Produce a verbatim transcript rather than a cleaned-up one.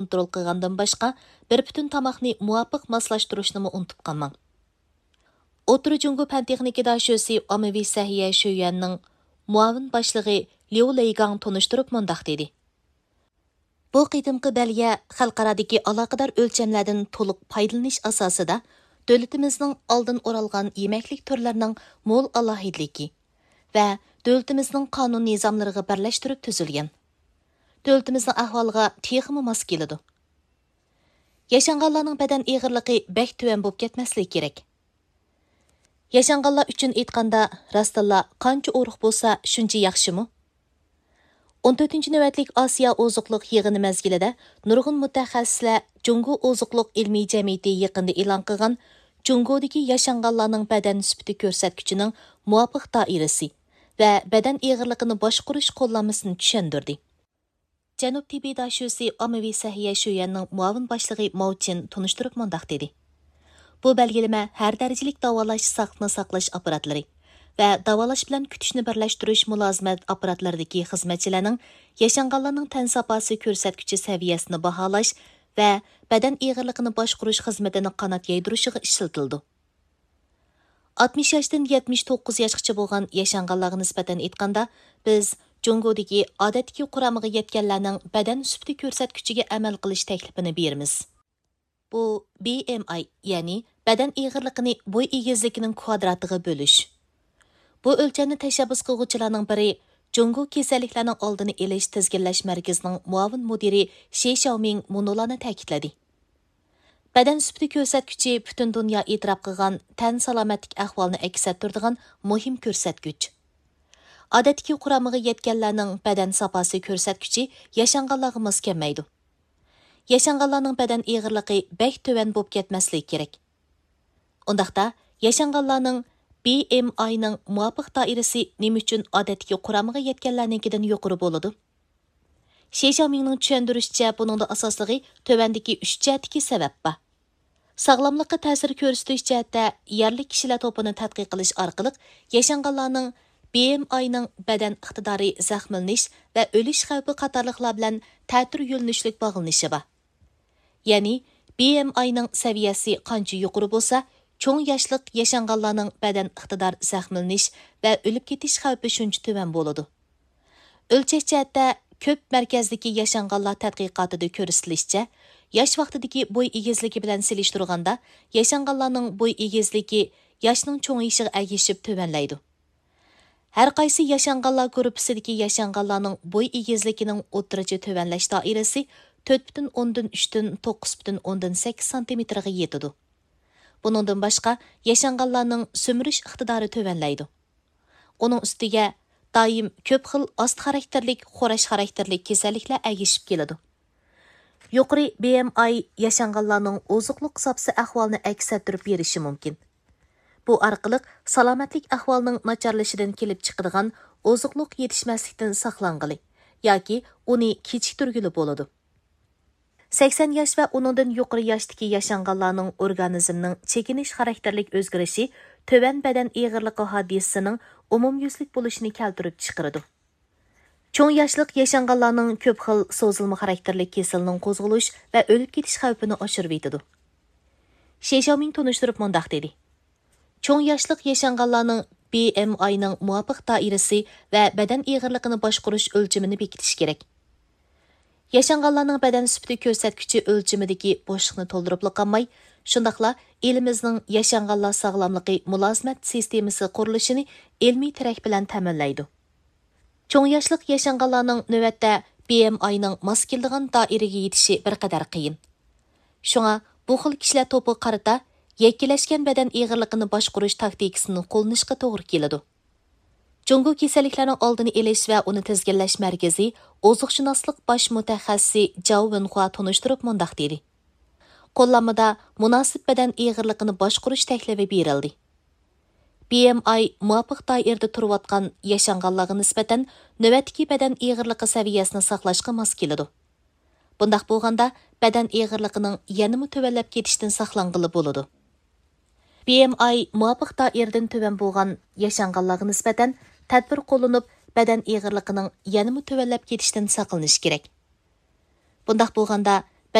كونترول قىلغاندىن باشقا، بىر پۈتۈن تاماقنى مۇۋاپىق ماسلاشتۇرۇشنىمۇ ئۇنتۇپ قالماڭ. ئوتتۇرا جۇڭگو پەن تېخنىكا داشۆسى ئاممىۋى سەھىيە شۆيۈەننىڭ مۇئاۋىن باشلىقى ليۇ لېيگاڭ تونۇشتۇرۇپ مۇنداق دېدى: بۇ قېتىمقى بەلگە خەلقئارادىكى ئالاقىدار ئۆلچەملەردىن تولۇق پايدىلىنىش ئاساسىدا، دۆلىتىمىزنىڭ ئالدىن ئورالغان يېمەكلىك تۈرلىرىنىڭ مول ئالاھىدىلىكى ۋە دۆلىتىمىزنىڭ قانۇن نىزاملىرىغا بىرلەشتۈرۈپ تۈزۈلگەن. دۆلىتىمىزنىڭ ئەھۋالىغا تېخىمۇ ماس كېلىدۇ. ياشانغانلارنىڭ بەدەن ئېغىرلىقى بەك تۆۋەن بولۇپ كەتمەسلىكى كېرەك. ياشانغانلار ئۈچۈن ئېيتقاندا، راستتىنلا قانچە ئورۇق بولسا، شۇنچە ياخشىمۇ؟ ئون تۆتىنچى نۆۋەتلىك ئاسىيا ئوزۇقلۇق يىغىنى مەزگىلىدە نۇرغۇن مۇتەخەسسىسلەر جۇڭگو ئوزۇقلۇق ئىلمىي جەمئىيىتى يېقىندا ئېلان قىلغان جۇڭگودىكى ياشانغانلارنىڭ بەدەن سۈپىتى كۆرسەتكۈچىنىڭ مۇۋاپىق دائىرىسى ۋە بەدەن ئېغىرلىقىنى باشقۇرۇش قوللانمىسىنى چۈشەندۈردى. جەنۇب تىببىي داشۆسى ئاممىۋى سەھىيە شۆيۈەننىڭ مۇئاۋىن باشلىقى ماۋ چىن تونۇشتۇرۇپ مۇنداق دېدى: بۇ بەلگىلىمە ھەر دەرىجىلىك داۋالاش ساقلىقنى ساقلاش ئاپپاراتلىرى ۋە داۋالاش بىلەن كۈتۈشنى بىرلەشتۈرۈش مۇلازىمەت ئاپپاراتلىرىدىكى خىزمەتچىلەرنىڭ ياشانغانلارنىڭ تەن ساپاسى كۆرسەتكۈچى سەۋىيەسىنى باھالاش ۋە بەدەن ئېغىرلىقىنى باشقۇرۇش خىزمىتىنى قانات يايدۇرۇشىغا ئىشلىتىلىدۇ. ئاتمىش ياشتىن يەتمىش توققۇز ياشقىچە بولغان ياشانغانلارغا نىسبەتەن ئېيتقاندا، بىز جۇڭگودىكى ئادەتتىكى قۇرامىغا يەتكەنلەرنىڭ بەدەن سۈپىتى كۆرسەتكۈچىگە ئەمەل قىلىش تەكلىپىنى بېرىمىز. بۇ بى ئېم ئاي، يەنى بەدەن ئېغىرلىقىنى بوي ئېگىزلىكىنىڭ كۋادراتىغا بۆلۈش. بۇ ئۆلچەمنى تەشەببۇس قىلغۇچىلارنىڭ بىرى، جۇڭگو كېسەللىكلەرنىڭ ئالدىنى ئېلىش تىزگىنلەش مەركىزىنىڭ مۇئاۋىن مۇدىرى شى شياۋمىڭ مۇنۇلارنى تەكىتلىدى: بەدەن سۈپىتى كۆرسەتكۈچى پۈتۈن دۇنيا ئېتىراپ قىلغان تەن سالامەتلىك ئەھۋالىنى ئەكس ئەتتۈرىدىغان مۇھىم كۆرسەتكۈچ. ئادەتتىكى قۇرامىغا يەتكەنلەرنىڭ بەدەن ساپاسى كۆرسەتكۈچى ياشانغانلارغا ماس كەلمەيدۇ. ياشانغانلارنىڭ بەدەن ئېغىرلىقى بەك تۆۋەن بولۇپ كەتمەسلىكى كېرەك. ئۇنداقتا، ياشانغانلارنىڭ بى ئېم ئاينىڭ مۇۋاپىق دائىرىسى نېمە ئۈچۈن ئادەتتىكى قۇرامىغا يەتكەنلەرنىڭكىدىن يۇقىرى بولىدۇ؟ شى شياۋمىڭنىڭ چۈشەندۈرۈشىچە، بۇنىڭدا ئاساسلىقى تۆۋەندىكى ئۈچ جەھەتتىكى سەۋەب بار. ساغلاملىققا تەسىر كۆرسىتىش جەھەتتە يەرلىك كىشىلەر توپىنى تەتقىق قىلىش ئارقىلىق ياشانغانلارنىڭ بى ئېم ئاينىڭ بەدەن ئىقتىدارى، زەخىملىنىش ۋە ئۆلۈش خەۋپى قاتارلىقلار بىلەن تەتۈر يۆنىلىشلىك باغلىنىشى بار. يەنى، بى ئېم ئاينىڭ سەۋىيەسى قانچە يۇقىرى بولسا، چوڭ ياشلىق ياشانغانلارنىڭ بەدەن ئىقتىدار، زەخىملىنىش ۋە ئۆلۈپ كېتىش خەۋپى شۇنچە تۆۋەن بولىدۇ. ئۆلچەش جەھەتتە، كۆپ مەركەزدىكى ياشانغانلار تەتقىقاتىدا كۆرسىتىلىشىچە، ياش ۋاقتىدىكى بوي ئېگىزلىكى بىلەن سېلىشتۇرغاندا، ياشانغانلارنىڭ بوي ئېگىزلىكى ياشنىڭ چوڭىيىشىغا ئەگىشىپ تۆۋەنلەيدۇ. ھەر قايسى ياشانغانلار گۇرۇپپىسىدىكى ياشانغانلارنىڭ بوي ئېگىزلىكىنىڭ ئوتتۇرىچە تۆۋەنلەش دائىرىسى تۆت پۈتۈن ئوندىن ئۈچتىن توققۇز پۈتۈن ئوندىن سەككىز سانتىمېتىرغا يېتىدۇ. بۇنىڭدىن باشقا، ياشانغانلارنىڭ سۈمۈرۈش ئىقتىدارى تۆۋەنلەيدۇ. ئۇنىڭ ئۈستىگە، دائىم كۆپ خىل ئاستا خاراكتېرلىك، خوراش خاراكتېرلىك كېسەللىكلەر ئەگىشىپ كېلىدۇ. يۇقىرى بى ئېم ئاي ياشانغانلارنىڭ ئوزۇقلۇق زاپىسى ئەھۋالىنى ئەكس ئەتتۈرۈپ بېرىشى مۇمكىن. بۇ ئارقىلىق سالامەتلىك ئەھۋالىنىڭ ناچارلىشىشىدىن كېلىپ چىقىدىغان ئوزۇقلۇق يېتىشمەسلىكتىن ساقلانغىلى ياكى ئۇنى كېچىكتۈرگىلى بولىدۇ. سەكسەن ياش ۋە ئۇنىڭدىن يۇقىرى ياشتىكى ياشانغانلارنىڭ ئورگانىزمنىڭ چېكىنىش خاراكتېرلىك ئۆزگىرىشى تۆۋەن بەدەن ئېغىرلىقى ھادىسىسىنىڭ ئومۇميۈزلۈك بولۇشىنى كەلتۈرۈپ چىقىرىدۇ. چوڭ ياشلىق ياشانغانلارنىڭ كۆپ خىل سوزۇلما خاراكتېرلىك كېسىلىنىڭ قوزغىلىش ۋە ئۆلۈپ كېتىش خەۋپىنى ئاشۇرۇۋېتىدۇ. شى شياۋمىڭ تونۇشتۇرۇپ مۇنداق دېدى: چوڭ ياشلىق ياشانغانلارنىڭ بى ئېم ئاينىڭ مۇۋاپىق دائىرىسى ۋە بەدەن ئېغىرلىقىنى باشقۇرۇش ئۆلچىمىنى بېكىتىش كېرەك. ياشانغانلارنىڭ بەدەن سۈپىتى كۆرسەتكۈچى ئۆلچىمىدىكى بوشلۇقنى تولدۇرۇپلا قالماي، شۇنداقلا ئېلىمىزنىڭ ياشانغانلار ساغلاملىقى مۇلازىمەت سىستېمىسى قۇرۇلۇشىنى ئىلمىي تىرەك بىلەن تەمىنلەيدۇ. چوڭ ياشلىق ياشانغانلارنىڭ نۆۋەتتە بى ئېم ئاينىڭ ماس كېلىدىغان دائىرىگە يېتىشى بىر قەدەر قىيىن. شۇڭا بۇ خىل كىشىلەر توپىغا قارىتا يەككىلەشكەن بەدەن ئېغىرلىقىنى باشقۇرۇش تاكتىكىسىنى قوللىنىشقا توغرا كېلىدۇ. جۇڭگو كېسەللىكلەرنىڭ ئالدىنى ئېلىش ۋە ئۇنى تىزگىنلەش مەركىزى ئوزۇقشۇناسلىق باش مۇتەخەسسىسى جاۋ ۋېنخۇا تونۇشتۇرۇپ مۇنداق دېدى: قوللانمىدا مۇناسىپ بەدەن ئېغىرلىقىنى باشقۇرۇش تەكلىپى بېرىلدى. بى ئېم ئاي مۇۋاپىق دائىرىدە تۇرۇۋاتقان ياشانغانلارغا نىسبەتەن نۆۋەتتىكى بەدەن ئېغىرلىقى سەۋىيەسىنى ساقلاشقا ماس كېلىدۇ. بۇنداق بولغاندا، بەدەن ئېغىرلىقىنىڭ يەنىمۇ تۆۋەنلەپ كېتىشتىن ساقلانغىلى بولىدۇ. بى ئېم ئاي مۇۋاپىق دائىرىدىن تۆۋەن بولغان ياشانغانلارغا نىسبەتەن تەدبىر قوللىنىپ، بەدەن ئېغىرلىقىنىڭ يەنىمۇ تۆۋەنلەپ كېتىشتىن ساقلىنىش كېرەك. بۇنداق بولغاندا،